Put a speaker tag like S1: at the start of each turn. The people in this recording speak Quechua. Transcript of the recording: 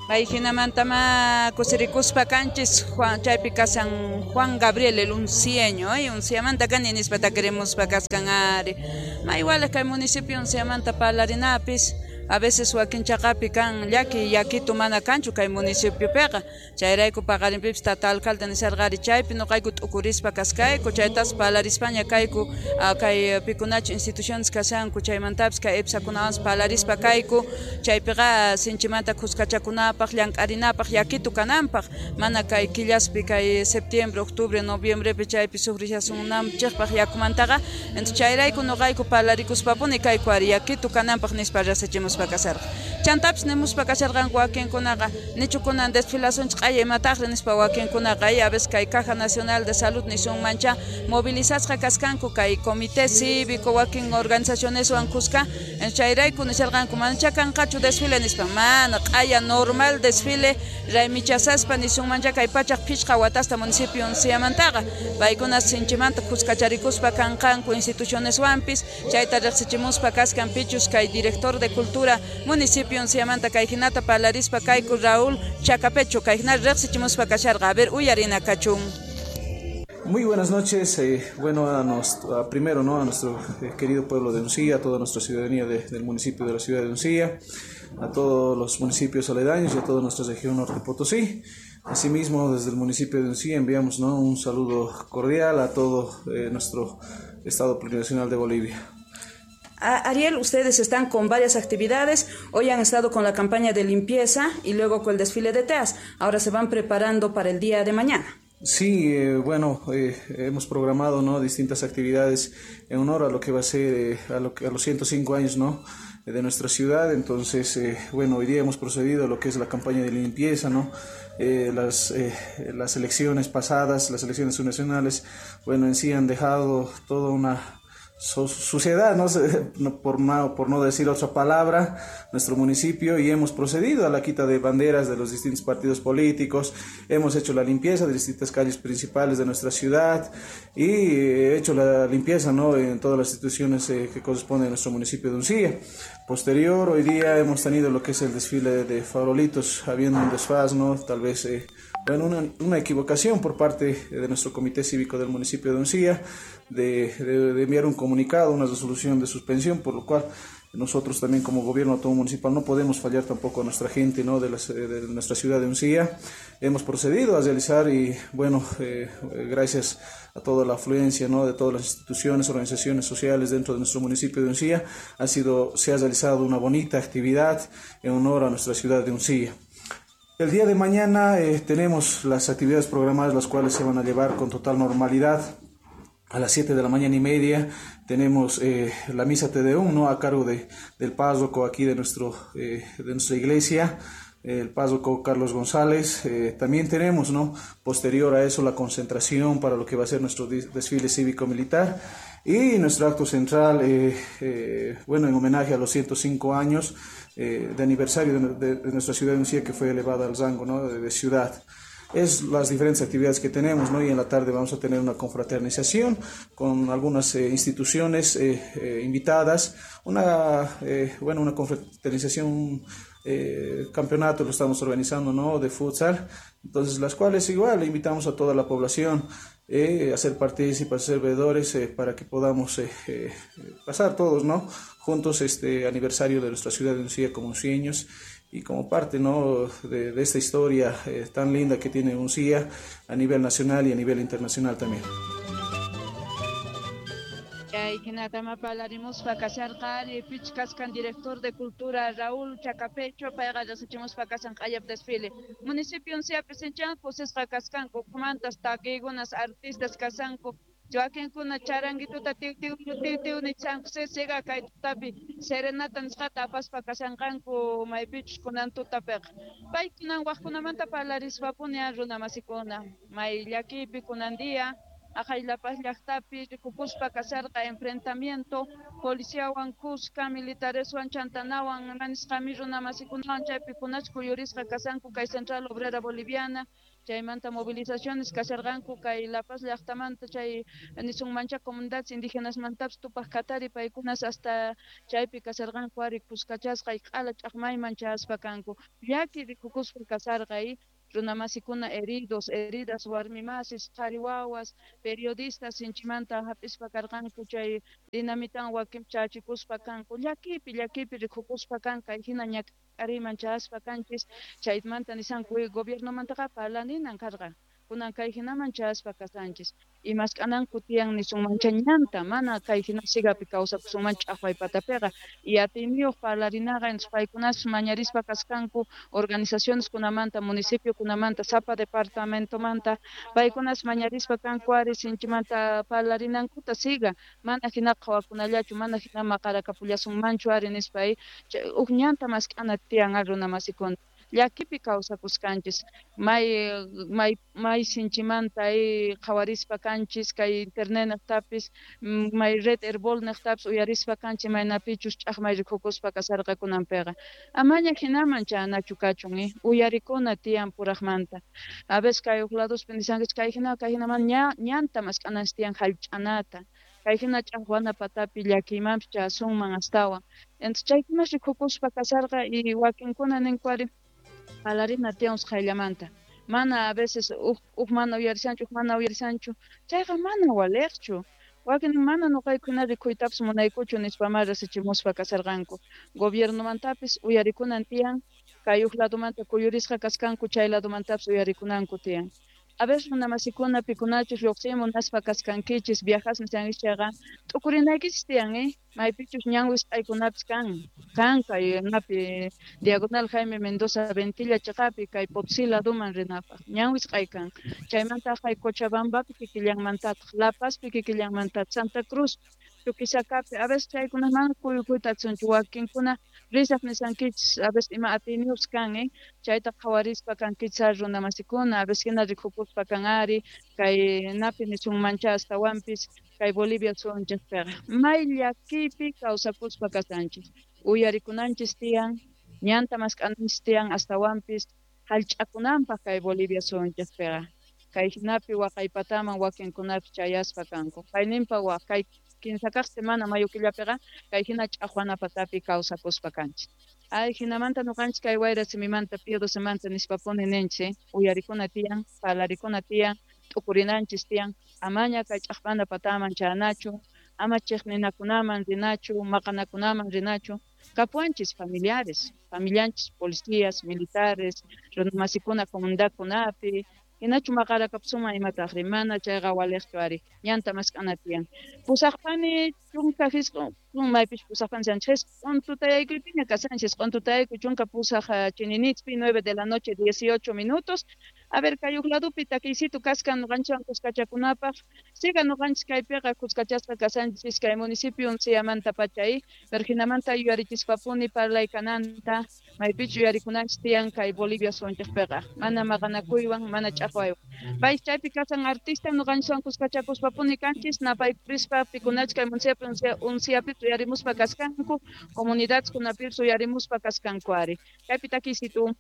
S1: Pay hinamantama kusirikuspa kanchis Juan, chaypi kashan Juan Gabriel el uncieño, unciamanta kani nispa takirimuspa kaskan ari. Ma igual kay municipio unciamanta parlarinapis, a veces wakin chaqapi kan llaki yakitu mana kanchu kay municipiopiqa. Chayrayku paqarinpipis tata alcalde nisharqari chaypi nuqayku t'ukurispa kaskayku, chaytas parlarispaña kayku kay pikunachu instituciones kashanku, chaymantapis kay EPSAkunawanpas parlarispa kayku, chaypiqa sinchimanta khuskachakunapaq, llank'arinapaq, yakitu kananpaq, mana kay killaspi kay septiembre, octubre, noviembrepi chaypi sufrishasunanchikpaq yakumantaqa. Entonces chayrayku nuqayku parlarikuspapuni kayku ari yakitu kananpaq nispa riqsichimuspa kasharqa. Chantapis nimuspa kasharqanku wakinkunaqa, nichu kunan desfilasunchik q'aya imataqri nispa wakinkunaqa, a veces kay Caja Nacional de Salud nisunmancha movilizasqa kaskanku kay comité cívico wakin organizacioneswan kuska, chayrayku nisharqanku manacha kanqachu desfile nispa, mana q'aya normal desfile raymichasaspa nisunmancha kay 105 watasta municipio unciamantaqa paykuna sinchimanta kuskacharikuspa kanqanku institucioneswanpis, chayta riqsichimuspa kaskan pichus kay director de cultura municipio unciamanta kay hinata parlarispa kayku Raúl Chacapecho kay hina riqsichimuspa kasharqa. A ver, uyarina kachun.
S2: Muy buenas noches, bueno, primero, ¿no?, a nuestro querido pueblo de Uncía, a toda nuestra ciudadanía del municipio de la ciudad de Uncía, a todos los municipios aledaños y a toda nuestra región Norte Potosí. Asimismo, desde el municipio de Uncía enviamos, ¿no?, un saludo cordial a todo nuestro Estado Plurinacional de Bolivia.
S1: Ariel, ustedes están con varias actividades, hoy han estado con la campaña de limpieza y luego con el desfile de teas, ahora se van preparando para el día de mañana.
S2: Sí, bueno, hemos programado, ¿no?, distintas actividades en honor a lo que va a ser, a los 105 años, ¿no?, de nuestra ciudad. Entonces, bueno, hoy día hemos procedido a lo que es la campaña de limpieza, ¿no? Las elecciones pasadas, las elecciones subnacionales, bueno, en sí han dejado toda una suciedad, ¿no? Por no decir otra palabra, nuestro municipio, y hemos procedido a la quita de banderas de los distintos partidos políticos, hemos hecho la limpieza de distintas calles principales de nuestra ciudad y hecho la limpieza, ¿no?, en todas las instituciones que corresponden a nuestro municipio de Uncía. Posterior, hoy día hemos tenido lo que es el desfile de farolitos, habiendo un desfaz, ¿no?, tal vez bueno, una equivocación por parte de nuestro comité cívico del municipio de Uncía de enviar un comunicado, una resolución de suspensión, por lo cual nosotros también como gobierno autónomo municipal no podemos fallar tampoco a nuestra gente, ¿no?, de nuestra ciudad de Uncía. Hemos procedido a realizar y bueno, gracias a toda la afluencia, ¿no?, de todas las instituciones, organizaciones sociales dentro de nuestro municipio de Uncía, se ha realizado una bonita actividad en honor a nuestra ciudad de Uncía. El día de mañana tenemos las actividades programadas, las cuales se van a llevar con total normalidad. A las 7:30 a. m. tenemos la misa Te Deum, ¿no?, a cargo del párroco aquí de nuestra iglesia, el párroco Carlos González. También tenemos, ¿no?, posterior a eso, la concentración para lo que va a ser nuestro desfile cívico-militar y nuestro acto central, bueno, en homenaje a los 105 años de aniversario de nuestra ciudad de Uncía, que fue elevada al rango, ¿no?, de ciudad. Es las diferentes actividades que tenemos, ¿no? Y en la tarde vamos a tener una confraternización con algunas instituciones invitadas, una confraternización, campeonato lo estamos organizando, ¿no?, de futsal, entonces las cuales igual invitamos a toda la población a ser partícipes, a ser veedores, para que podamos pasar todos, ¿no?, juntos este aniversario de nuestra ciudad de Uncía como uncieños y como parte, ¿no?, de esta historia tan linda que tiene Uncía a nivel nacional y a nivel internacional también.
S1: Chay hinatama parlarimuspa kasharqari pich kaskan director de cultura Raúl Chacapecho, payqa riqsichimuspa kashan q'ayap desfile. Municipio Uncía presenchan kusisqa kaskanku, ukhumantas takiykunas artistas kashanku, wakinkuna charanguituta tiw tiw tiw tiw nichanku, sisiqa kay tutapi serenata nisqata apaspa kashanqanku maypichus kunan tutapiqa. Paykunan waqkunamanta parlarispapuni runa masikuna, may llakiypi kunan día Aqaylapas llaqtapi rikukuspa kasharqa enfrentamiento Policiawan kuska, militareswan, chantanawan, manisqami runamasikunawan chaypi kunach kuyurisqa kashanku kay Central Obrera Boliviana. Chaymanta movilizaciones kasharqanku kay La Paz llaqtamanta, chay nisunmancha comunidades indígenas-mantapis Tupaq Katari, paykunas hasta chaypi kasharqanku ari kuskachasqa q'ala ch'aqmayman chayaspa kanku. Llaki rikukuspa kasharqa runamasikuna heridos, heridas, warmimasis, qhari wawas, periodistas sinchimanta hap'ispa karqanku chay dinamitan wakin chachikuspa kanku. Llakipi, llakipi rikukuspa kan kay hina ñak'ariyman chayaspa kanchis. Chaymanta nisanku gobiernomantaqa parlaninan karqa, kunan kay hinaman chayaspa kashanchis. Y mask'ananku tiyan nisunmancha ñanta, mana kay hina sigapi kawsakusunman ch'aqway patapiqa. Y atiyniyuq parlarinaqa, entonces paykunas mañarispa kasqanku organizaciones kunamanta, municipio kunamanta, sapa departamentomanta, paykunas mañarispa kanku ari sinchimanta parlarinankuta siga, mana hina qhawakunallachu, mana hina maqarakapullasunmanchu ari nispa huk ñanta mask'ana tiyan ari runamasikuna. Llakipi kawsakusqanchis, may may may sinchimanta qhawarispa kanchis kay internet niqtapis, may red Herbol niqtapis uyarispa kanchis maynapichus ch'aqmay rikukuspa kasharqa kunanpiqa. Amaña hinaman chayanachu kachun, uyarikuna tiyan puraqmanta. A veces kay huk ladospi nishankichis kay hina kay hinaman ñanta mask'ananchis tiyan hallch'anata. Kay hina ch'aqwana patapi llakiymanpis chayasunman astawan. Entonces chaykunas rikukuspa kasharqa y wakinkuna ninku ari parlarina tiyan usqhayllamanta. Mana a veces huk mana uyarishanchu, huk mana uyarishanchu, chayqa mana waliqchu. Wakin mana nuqaykuna rikuytapis munaykuchu nispamá rasichimuspa kasharqanku. Gobiernomantapis uyarikunan tiyan, kay huk ladomanta kuyurisqa kaskanku chay ladomantapis uyarikunanku tiyan. A veces runamasikuna pikunachus lluqsiy munaspa kaskankichis, viajas nishankichis chayqa t'ukurinaykichis tiyan, maypichus ñan wisq'aykunapis kan, kan kay napi Diagonal Jaime Mendoza Ventilla chiqapi kay Potosí ladoman rinapaq ñan wisq'ay kan. Chaymanta kay Cochabambapi kikillanmantataq, La Pazpi kikillanmantataq, Santa Cruz, Chuquisacapi, a veces chaykuna mana kuyukuyta atinchu wakinkuna risaq nishankichis, a veces ima atiyniyuqpis kan, chayta qhawarispa kankichis ari runamasikuna, a veces hina rikukuspa kan ari kay napi nisunmancha astawanpis kay Bolivia suyunchikpiqa. May llakiypi kawsakuspa kashanchis, uyarikunanchis tiyan, ñanta mask'ananchis tiyan astawanpis hallch'akunanpaq kay Bolivia suyunchikpiqa. Kay hinapi waqaypataman wakinkunapis chayaspa kanku. Kayninpa waq kay kinsa kaq semana mayo killapiqa kay hina ch'aqwana patapi kawsakuspa kanchis. Ay hinamanta nuqanchis kay wayra simimanta Pío Docemanta nispapuni ninchis, uyarikuna tiyan, parlarikuna tiyan, t'ukurinanchis tiyan, amaña kay ch'aqwana pataman chayanachu, ama chiqninakunaman rinachu, maqanakunaman rinachu. Kapuwanchis familiares, familianchis policías, militares, runamasikuna comunidadkunapi, hinachu maqarakapusunman imataqri, mana chayqa waliqchu ari, ñanta mask'ana tiyan. Pusaqpani chunka hisq'un, maypis pusaqpani chanchis, hisq'un tutayaykuypiña kashanchis, hisq'un tutayaykuy chunka pusaq chininitspi, 9 de la noche 18 minutos. A ver, kay huk ladopi takiysitu kaskan nuqanchikwan kuskachakunapaq, siga nuqanchis kaypiqa kuskachasqa kashanchis kay municipio Unciamanta pachay, pero hinamanta yuyarichispapuni parlay kananta, maypichu yuyarikunanchis tiyan kay Bolivia suyunchikpiqa, mana maqanakuywan, mana ch'aqwaywan. Pay chaypi kasan artista nuqanchikwan kuskachakuspapuni kanchis, napaykurispa pikunachis kay municipio Unciapi uyarimuspa kaskanku, comunidades kunapis uyarimuspa kaskanku ari. Kaypi takiysitu.